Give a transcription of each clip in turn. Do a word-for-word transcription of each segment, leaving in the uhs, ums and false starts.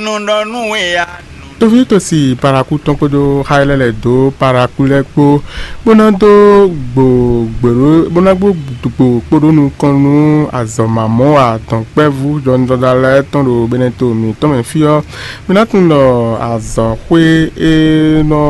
nɔ ɖɔ nú we ya. Toví tosi paraku tɔn kpódó xá lɛ́ɛ lɛ́ dó paraku lɛ́ɛ kpó, bó ná dó gbo gbèrú bó ná gbó gbo kpódó nukɔn nú azɔ̌ mamɔ́ wa dɔ̌nkpɛvú jɔnjɔda lɛ́ɛ tɔn ɖo Beneto mǐtɔn mɛ fí ɔ́. Mi ná tunwun ɖɔ azɔ̌xwé e nɔ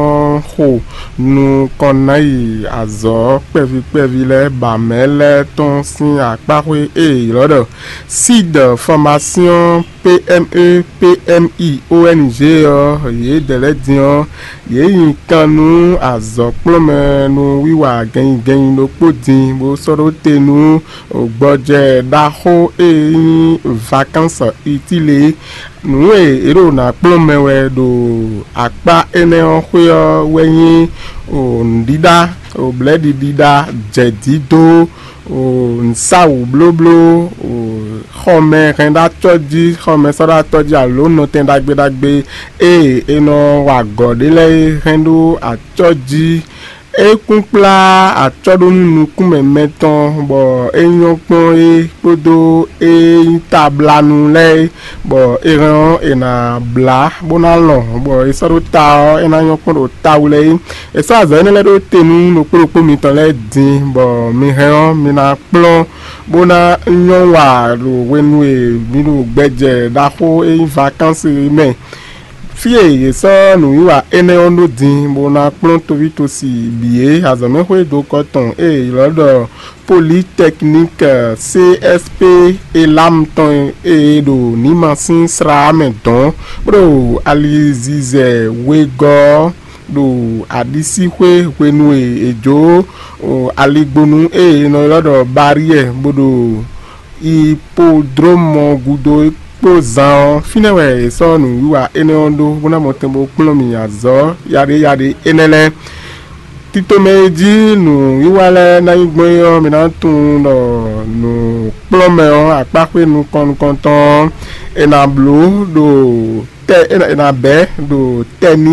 xo nukɔn ná yi azɔ̌ kpɛví kpɛví lɛ́ɛ ba mɛ̌ lɛ́ɛ tɔn sín akpáxwé e è ylɔ́ ɖɔ Sid Formation P M E P M I O N G ɔ́, yědɛɛ lɛ́ɛ din ɔ́, yě nyi kan nú azɔ̌kplɔ́nmɛ nú wiwa gɛnnyigɛnnyi ɖokpó din, bó sɔ́ ɖó te nú gbɔjɛ ɖaxó e nyí vacances utiles é. Nǔ e è ɖo ná kplɔ́n mɛ wɛ ɖo akpá énɛ́ ɔ́ xwé ɔ́ wɛ nyí nǔɖiɖa, blɛ̌ɖiɖiɖa, jɛ̌dídó, nǔsáwǔblóbló, xɔmɛ hɛn ɖó acɔ́ jí, xɔmɛ sɔ́ ɖó acɔ́ jí alo nɔtɛn ɖagbe ɖagbe e è nɔ wa agɔ̌ ɖe lɛ́ɛ é hɛn ɖó acɔ́ jí. É kún kplá acɔ́ ɖó nú nukúnmɛ mɛtɔn, bɔ é nyɔ́ kpɔ́n é kpódó é nyí tablanu lɛ́ɛ é, bɔ é hɛn ɔ́, è nǎ blá bó ná lɔn, bɔ è sɔ́ ɖó ta ɔ́, é ná nyɔ́ kpɔ́n ɖo tawu lɛ́ɛ é. È sɔ́ azɔ̌ énɛ́ lɛ́ɛ ɖó te nú ɖokpó ɖokpó mitɔn lɛ́ɛ din, bɔ mi hɛn ɔ́, mi ná kplɔ́n bó ná nyɔ́ wa ɖo hwenu e mi ɖo gbɛjɛ ɖaxó e nyí vakansi é mɛ. Fí e yě sɔ́ nǔwiwa énɛ́ ɔ́ ɖó din bó ná kplɔ́n toví tosi bǐ é, azɔ̌mɛxwé dokɔ tɔn e è ylɔ́ ɖɔ Polytechnique C S P Elam tɔn e ɖo Nimasín slá mɛ dɔn, bó ɖo alizizɛ wegɔ́ ɔ́ ɖo aɖisíxwé hwenu e è jó aligbonu e è nɔ ylɔ́ ɖɔ Baryɛ bó ɖo Ipodlómɔ gúdo kpó zan ɔ́, fínɛ́ wɛ è sɔ́ nǔwiwa énɛ́ ɔ́ ɖó bó ná mɔ tɛn bó kplɔ́n mì azɔ̌ yaɖé yaɖé énɛ́ lɛ́ɛ. Tito mɛ e jí nǔwiwa lɛ́ɛ ná nyí gbɔn é ɔ́, mi ná tunwun ɖɔ nǔkplɔ́nmɛ ɔ́, akpáxwé nukɔn nukɔntɔn ɔ́, è nǎ bló ɖo tɛ è nǎ bɛ̌ ɖo tɛni